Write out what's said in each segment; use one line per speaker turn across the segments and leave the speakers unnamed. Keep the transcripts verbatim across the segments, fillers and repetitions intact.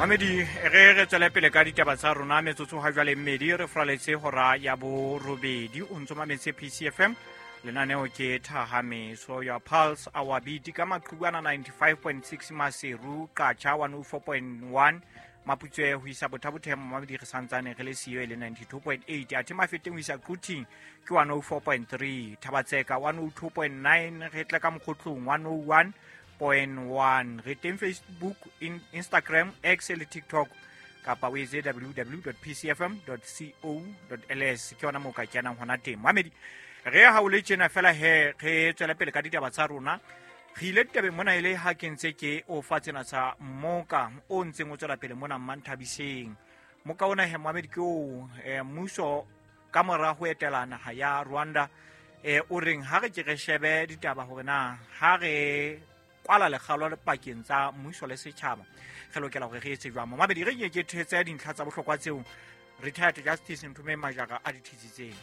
Mamedi, re re tswele pele ka ditaba tsa rona metsotso ha jwale mmedi re fraletse hora ya borobedi. O ntso mametse P C F M, lenaneo ke Thahameso ya Pulse Our Beat ka maqhubana ninety-five point six Maseru, Qacha one oh four point one Maputswe ho isa Bothabothemo, Mamedi re santsane re le siyo e le ninety-two point eight, athe Mafeteng ho isa Quthing ke one oh four point three, Thabatseka one oh two point nine, re tla ka Mokhotlong one oh one point one, re teng Facebook, in, Instagram, X le TikTok kapa o etse w w w dot p c f m dot co dot l s, ke yona moo ka kenang hona teng. Mamedi, re ha o le tjena fela he re tswela pele ka ditaba tsa rona. Re ile ditabeng mona e le ha ke ntse ke o fa tsena tsa mmoka o ntseng o tswela pele mona Mmanthabiseng. Mmoka ona he Mamedi ke o, eh, mmuso ka mora ho etela naha ya Rwanda, eh, o reng ha re ke re shebe ditaba hore na ha re kwala lekgalo le pakeng tsa mmuso le setjhaba re lokela hore re etse jwang. Mamedi, re ke ke thetse dintlha tsa bohlokwa tseo Retired Justice Nthomeng Majara a di thetsitseng.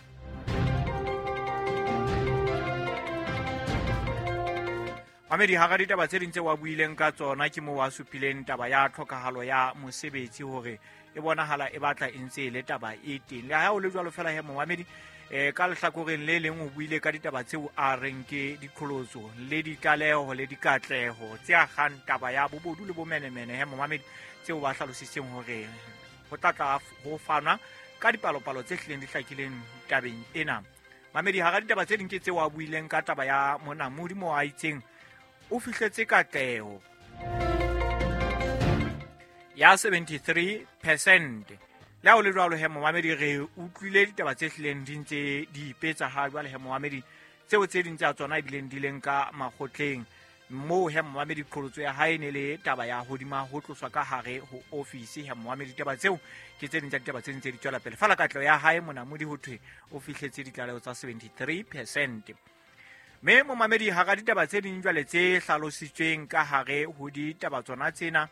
Mamedi, hara ditaba tse ding tse wa buileng ka tsona ke moo wa supileng taba ya tlhokahalo ya mosebetsi hore e bonahala e batla e ntse e le taba e teng. Le ha o le jwalo fela he Momamedi, eh, ka lehlakoreng le leng o buile ka ditaba tseo a reng ke diqholotso le ditlaleho le dikatleho tse akgang taba ya bobodu le bomenemene he Momamedi, tseo ba hlalositseng hore ho tla tla ho fanwa ka dipalopalo tse hlileng di hlakileng tabeng ena. Mamedi, hara ditaba tse ding ke tseo a buileng ka taba ya monamodi moo a itseng o fihletse katleho ya seventy-three percent. Le ha ho le jwalo he Momamedi, re utlwile ditaba tse hlileng di ntse di ipetsa ha jwale he Momamedi, tseo tse ding tsa tsona ebileng di leng ka makgotleng. Moo he Momamedi qholotso ya hae ne le taba ya hodima ho tloswa ka hare ho ofisi he Momamedi. Ditaba tseo ke tse ding tsa ditaba tse ntse di tswela pele. Fela katleho ya hae monamodi ho thwe o fihletse ditlaleho tsa seventy-three percent. Mme Momamedi, hara ditaba tse ding jwale tse hlalositsweng ka hare ho ditaba tsona tsena,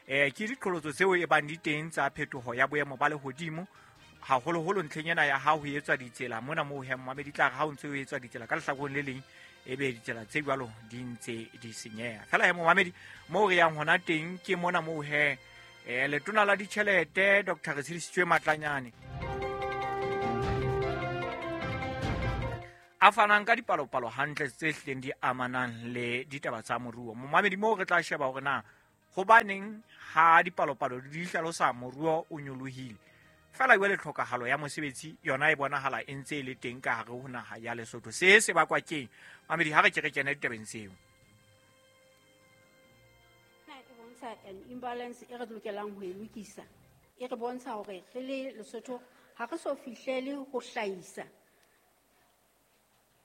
eh, ke diqholotso tseo e bang di teng tsa phetoho ya boemo ba lehodimo, haholoholo ntlheng ena ya ha ho etswa ditsela mona moo he Momamedi tla re ha ho ntse ho etswa ditsela ka lehlakoreng le leng ebe ditsela tse jwalo di ntse di senyeha. Fela he Momamedi, moo re yang hona teng ke mona moo he, eh, letona la ditjhelete Doctor Retshidisitswe Matlanyane a fanang ka dipalopalo hantle tse hlileng di amanang le ditaba tsa moruo. Momamedi, moo re tla sheba hore na hobaneng ha dipalopalo di hlalosa moruo o nyolohile, fela jwale tlhokahalo ya mosebetsi yona e bonahala e ntse e le teng ka hare ho naha ya Lesotho. Se se bakwa keng? Mamedi, ha re ke re kene ditabeng tseo.
E bontsha an imbalance e re lokelang ho e lokisa. E re bontsha hore re le Lesotho ha re so fihlele ho hlahisa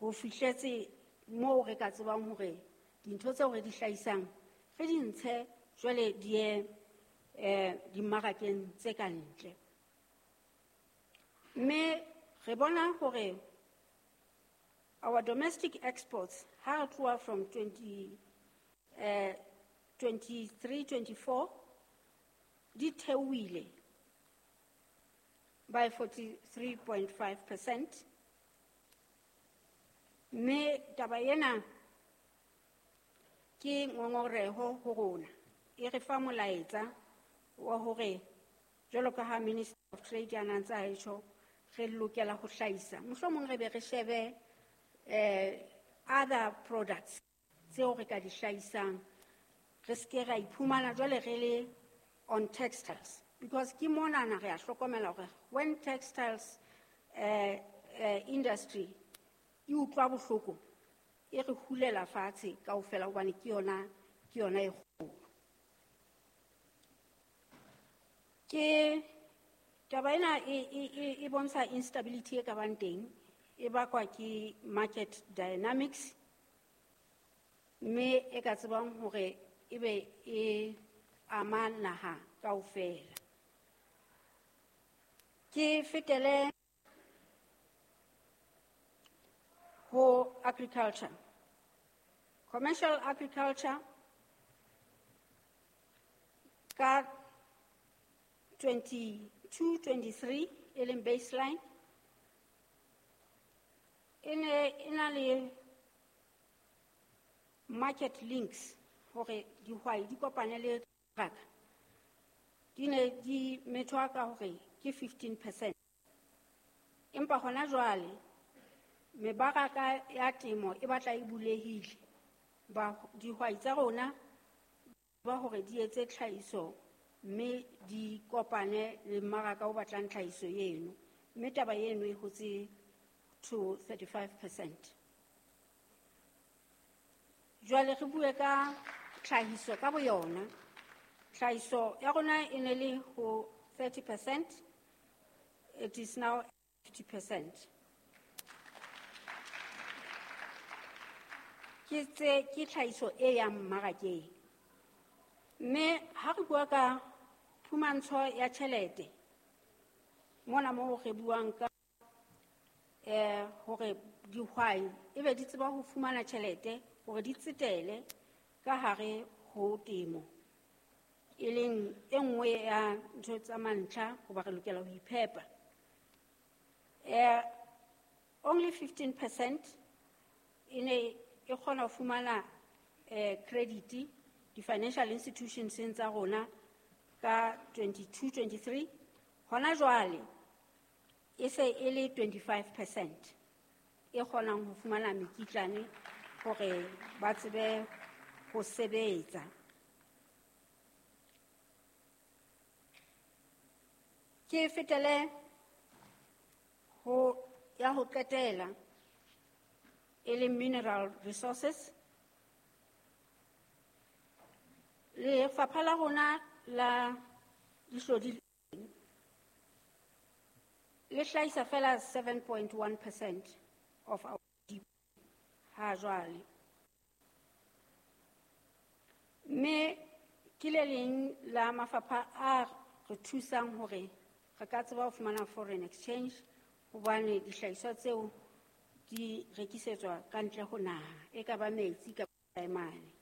ho fihletse moo re ka tsebang hore dintho tseo re di hlahisang re di ntshe jwale di ye, eh, dimmarakeng tse ka ntle. Mme re bona hore our domestic exports ha re tloha from twenty, eh, twenty-three, twenty-four di theohile by forty-three point five percent. Mme taba ena ke ngongoreho ho rona. E re fa molaetsa wa hore jwalo ka ha Minister of Trade a ntse a tjho, re lokela ho hlahisa. Mohlomong re be re shebe, eh, other products tseo re ka di hlahisang. Re ske ra iphumana jwale re le on textiles, because ke monana re a hlokomela hore when textiles, eh, eh, industry e utlwa bohloko, e re hulela fatshe kaofela hobane ke yona, ke yona e kgolo. Ke taba ena e, e, e, e bontsha instability e ka bang teng, e bakwa ke market dynamics, mme e ka tsebang hore ebe e ama naha kaofela. Ke fetele ho agriculture. Commercial agriculture ka twenty-two twenty-three e leng baseline e ne e na le market links hore dihwai di kopane le mmaraka di ne di methwa ka hore ke fifteen percent. Empa hona jwale mebaraka ya temo e batla e bulehile. Ba dihwai tsa rona ba hore di etse tlhahiso mme di kopane le mmaraka o batlang tlhahiso eno, mme taba eno e hotse to thirty-five percent. Jwale re bue ka tlhahiso ka boyona. Tlhahiso ya rona e ne le ho thirty percent, it is now fifty percent. Ke tse, ke tlhahiso e yang mmarakeng. Mme ha re bua ka phumantsho ya tjhelete, mona moo re buang ka, eh, hore dihwai ebe di tseba ho fumana tjhelete hore di tsetele ka hare ho temo, e leng e nngwe ya ntho tsa mantlha hoba re lokela ho iphepa. Eh, only fifteen percent e ne e kgona ho fumana, eh, credit di-financial institutions tsa rona ka twenty-two twenty-three. Hona jwale e se e le twenty-five percent e kgonang ho fumana mekitlane hore ba tsebe ho sebetsa. Ke fetele ho ya ho qetela e leng mineral resources. Lefapha la rona la dihlodi le hlahisa fela seven point one percent of our G D P ha jwale. Mme ke le leng la mafapha a re thusang hore re ka tseba ho fumana foreign exchange, hobane dihlahiswa tseo di rekisetswa ka ntle ho naha, e ka ba metsi kapa taemane.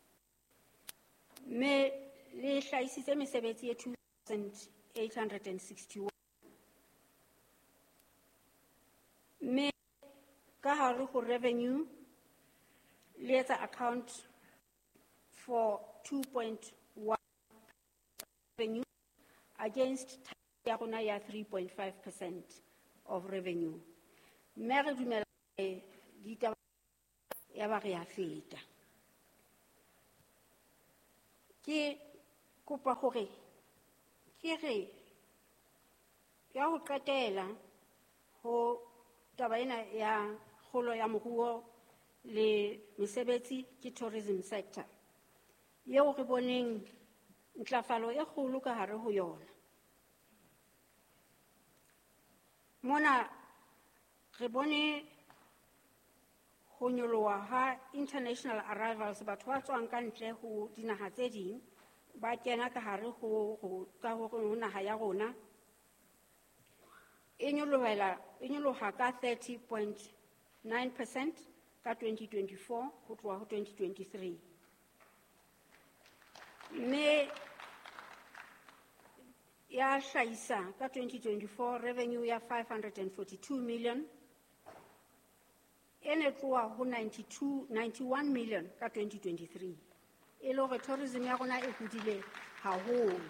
Mme le hlahisitse mesebetsi e two thousand eight hundred and sixty-one. Mme ka hare ho revenue le etsa account for two point one revenue against ya rona ya three point five percent of revenue. Mme re dumela hore ditaba ya ba re a feta. Ke kopa hore ke re ya ho qetela ho taba ena ya kgolo ya moruo le mesebetsi ke tourism sector eo re boneng ntlafalo e kgolo ka hare ho yona. Mona re bone ho nyoloha ha international arrivals, batho ba tswang ka ntle ho dinaha tse ding ba kena ka hare ho, ho, ka hore ho naha ya rona e nyolohela, e nyoloha ka thirty point nine percent ka twenty twenty-four ho tloha ho twenty twenty-three. Mme ya hlahisa ka twenty twenty-four revenue ya five hundred and forty-two million, e ne tloha ho ninety-two, ninety-one million ka twenty twenty-three. E le hore tourism ya rona e hodile haholo.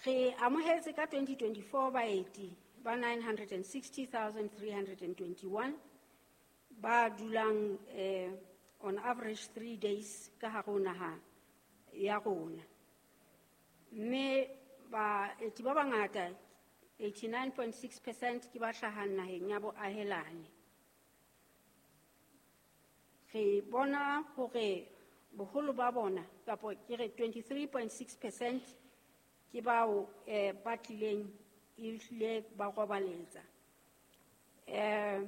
Re amohetse ka twenty twenty-four baeti ba nine hundred and sixty thousand three hundred and twenty-one ba dulang, eh, on average three days ka hare ho naha ya rona. Mme baeti ba bangata eighty-nine point six percent ke ba hlahang naheng ya boahelani. Re bona hore boholo ba bona kapo ke re twenty-three point six percent ke bao, eh, ba tlileng ehlile ba robaletsa. Eh,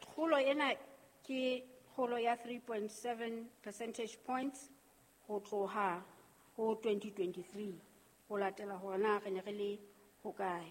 kgolo ena ke kgolo ya three point seven percentage points ho tloha ho twenty twenty-three ho latela hore na re ne re le hokae.